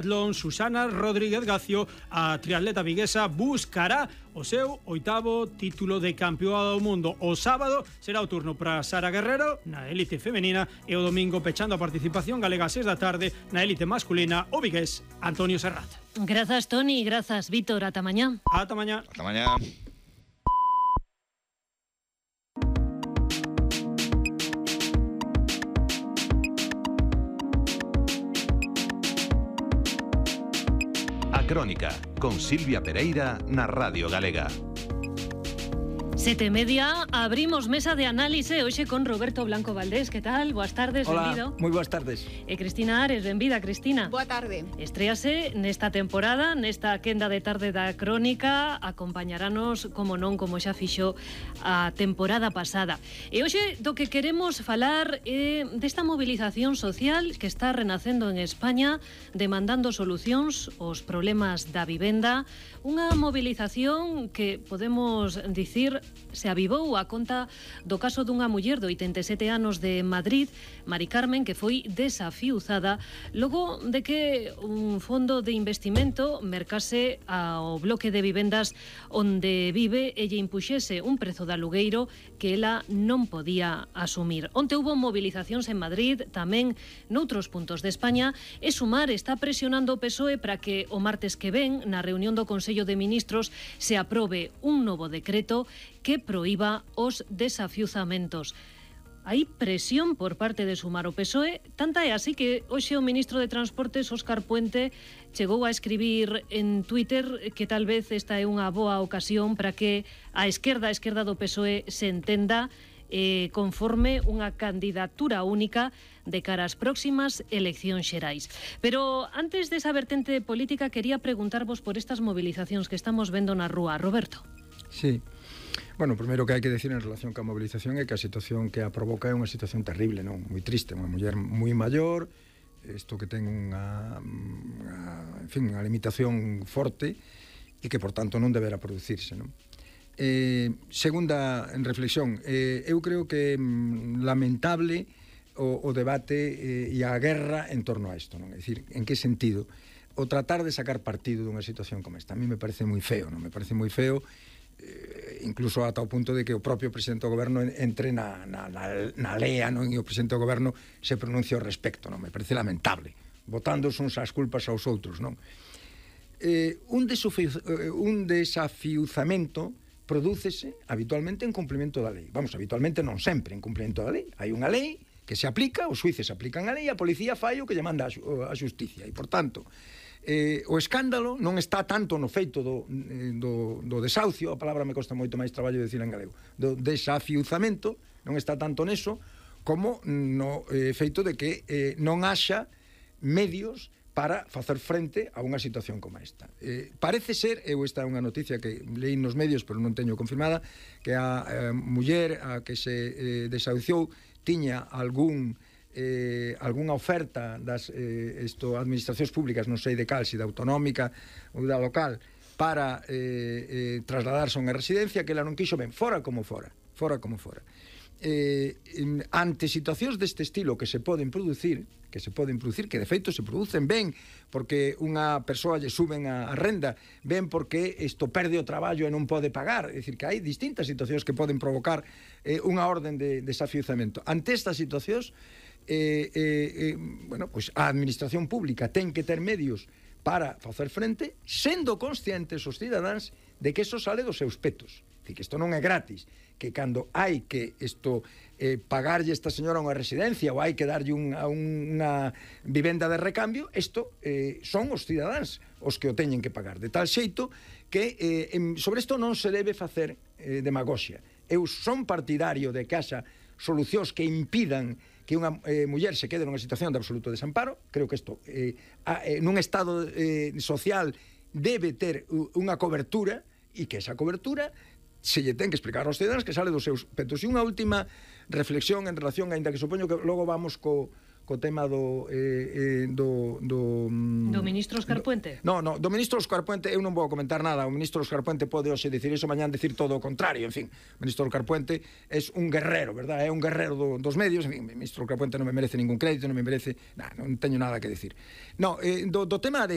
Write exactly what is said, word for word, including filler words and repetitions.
Susana Rodríguez Gacio, a triatleta viguesa, buscará o seu oitavo título de campeoa do mundo. O sábado será o turno para Sara Guerrero na élite femenina e o domingo, pechando a participación galega a seis da tarde na élite masculina, o vigués Antonio Serrat. Grazas, Toni, grazas, Vítor, ata mañá. Ata mañá. Ata mañá. Crónica, con Silvia Pereira na Radio Galega. Sete e media, abrimos mesa de análise hoxe con Roberto Blanco Valdés. Que tal? Boas tardes, Hola, benvido. moi boas tardes. E Cristina Ares, benvida, Cristina. Boa tarde. Estréase nesta temporada, nesta quenda de tarde da Crónica, acompañaranos, como non, como xa fixo a temporada pasada. E hoxe do que queremos falar é desta movilización social que está renacendo en España, demandando solucións aos problemas da vivenda, unha movilización que podemos dicir se avivou a conta do caso dunha muller de oitenta e sete anos de Madrid, Mari Carmen, que foi desafiuzada logo de que un fondo de investimento mercase ao bloque de vivendas onde vive e lle impuxese un prezo de alugueiro que ela non podía asumir. Onte hubo movilizacións en Madrid, tamén noutros puntos de España, e Sumar está presionando o P S O E para que o martes que ven, na reunión do Consello de Ministros, se aprobe un novo decreto que proíba os desafiuzamentos. Hai presión por parte de Sumar o P S O E, tanta é así que hoxe o ministro de Transportes, Óscar Puente, chegou a escribir en Twitter que tal vez esta é unha boa ocasión para que a esquerda, a esquerda do P S O E se entenda eh, conforme unha candidatura única de cara ás próximas eleccións xerais. Pero antes desa vertente política, quería preguntarvos por estas movilizacións que estamos vendo na rúa. Roberto. Sí. Bueno, primeiro que hai que decir en relación ca movilización é que a situación que a provoca é unha situación terrible, non? Moi triste, unha muller moi maior, isto que ten unha, unha, en fin, unha limitación forte e que, por tanto, non deberá producirse, non? Eh, segunda en reflexión, eh, eu creo que mm, lamentable o, o debate eh, e a guerra en torno a isto, non? É dicir, en que sentido? O tratar de sacar partido dunha situación como esta. A mí me parece moi feo, non? Me parece moi feo, eh, incluso ata o punto de que o propio presidente do goberno entre na, na, na, na lea, non? E o presidente do goberno se pronuncia ao respecto, non? Me parece lamentable, botándose uns as culpas aos outros, non? Eh, un, desafiuz, un desafiuzamento prodúcese habitualmente en cumprimento da lei. Vamos, habitualmente non sempre en cumprimento da lei. Hai unha lei que se aplica, os xuíces aplican a lei, a policía fai o que lle manda a xusticia. E, por tanto, eh, o escándalo non está tanto no feito do, do, do desahucio, a palabra me costa moito máis traballo de decir en galego, do desafiuzamento, non está tanto neso, como no eh, feito de que eh, non haxa medios para facer frente a unha situación como esta. Eh, parece ser, eu esta é unha noticia que leí nos medios, pero non teño confirmada, que a eh, muller a que se eh, desahuciou tiña algún eh, algunha oferta das eh, esto, administracións públicas, non sei de cal, se da autonómica ou da local, para eh, eh, trasladarse a unha residencia que ela non quixo, ben, fora como fora, fora como fora. Eh, ante situacións deste estilo que se poden producir, que se poden producir, que de feito se producen ben porque unha persoa lle suben a, a renda, ben porque isto perde o traballo e non pode pagar, é dicir que hai distintas situacións que poden provocar eh, unha orden de desafiuzamento. Ante estas situacións eh, eh, eh, bueno, pues a administración pública ten que ter medios para facer frente, sendo conscientes os cidadáns de que iso sale dos seus petos. É dicir, que isto non é gratis, que cando hai que isto eh, pagarlle esta señora unha residencia ou hai que darlle un, unha vivenda de recambio, isto eh, son os cidadáns os que o teñen que pagar, de tal xeito que eh, sobre isto non se debe facer eh, demagoxia. Eu son partidario de que haxa solucións que impidan que unha eh, muller se quede nunha situación de absoluto desamparo. Creo que isto eh, a, eh, nun estado eh, social debe ter unha cobertura e que esa cobertura se lle ten que explicar aos cidadáns que sale dos seus petos. E unha última reflexión en relación, aínda que supoño que logo vamos co, co tema do, eh, eh, do, do... Do ministro Óscar Puente? No, no, do ministro Óscar Puente eu non vou comentar nada. O ministro Óscar Puente pode hoxe dicir iso, mañán dicir todo o contrario. En fin, o ministro Óscar Puente é un guerrero, verdad? É un guerrero do, dos medios. En fin, o ministro Óscar Puente non me merece ningún crédito, non me merece... Nah, non teño nada que decir. No, eh, do, do tema de